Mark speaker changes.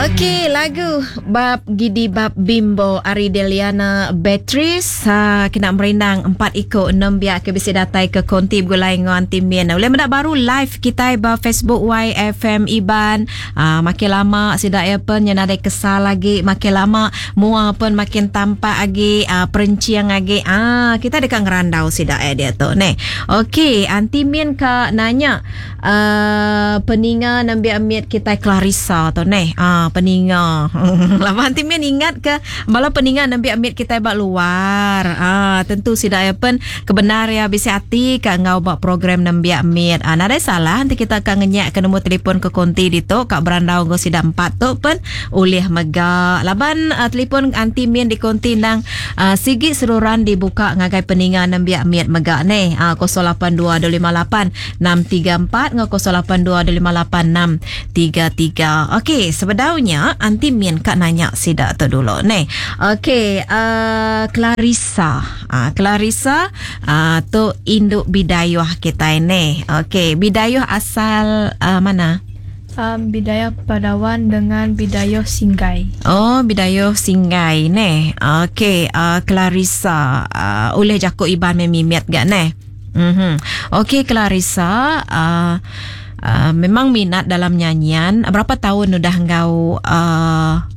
Speaker 1: Okey, lagu Bab Gidi Bab Bimbo ari Deliana Beatrice uh, kena merindang empat iko nembiak ke bisi datai ke konti begulai enggau Aunty Min. Ulih meda baru live kitai ba Facebook YFM Iban. Uh, makin lama sida iya pen nya nadai kesal agi, makin lama mua pen makin tampak agi, uh, perencing agi. Ah, uh, kita deka ngerandau sida iya diatu neh. Okey, Aunty Min ka nanya Uh, peninga nembiak mit kitai Clarissa tu neh. Ah, peninga. Laban ti min ingat ke bala peninga nembiak mit kitai ba luar. Ah, tentu sida ya pen kebenar ya bisi ati ka enggau ba program nembiak mit. Ah, nadai salah enti kita ka ngenyak ke nombor telefon ke konti ditu ka berandau enggau sida empat tu pen ulih mega. Laban uh, telefon anti min di konti nang uh, sigi seruran dibuka ngagai peninga nembiak mit mega neh. Ah, 082 258 634 enggau 08258633. Okey, sebedau nya anti min ka nanya sida tu dulu neh. Okey, uh, Clarissa. Uh, Clarissa uh, tu indu bidayuh kitai neh. Okey, bidayuh asal uh, mana?
Speaker 2: Bidayuh Padawan dengan Bidayuh Singgai.
Speaker 1: Oh, Bidayuh Singgai neh. Okey, uh, Clarissa uh, ulih jaku Iban mimit ga neh. Mhm. Okey Clarissa, uh, uh, memang minat dalam nyanyian. Berapa tahun udah enggau uh,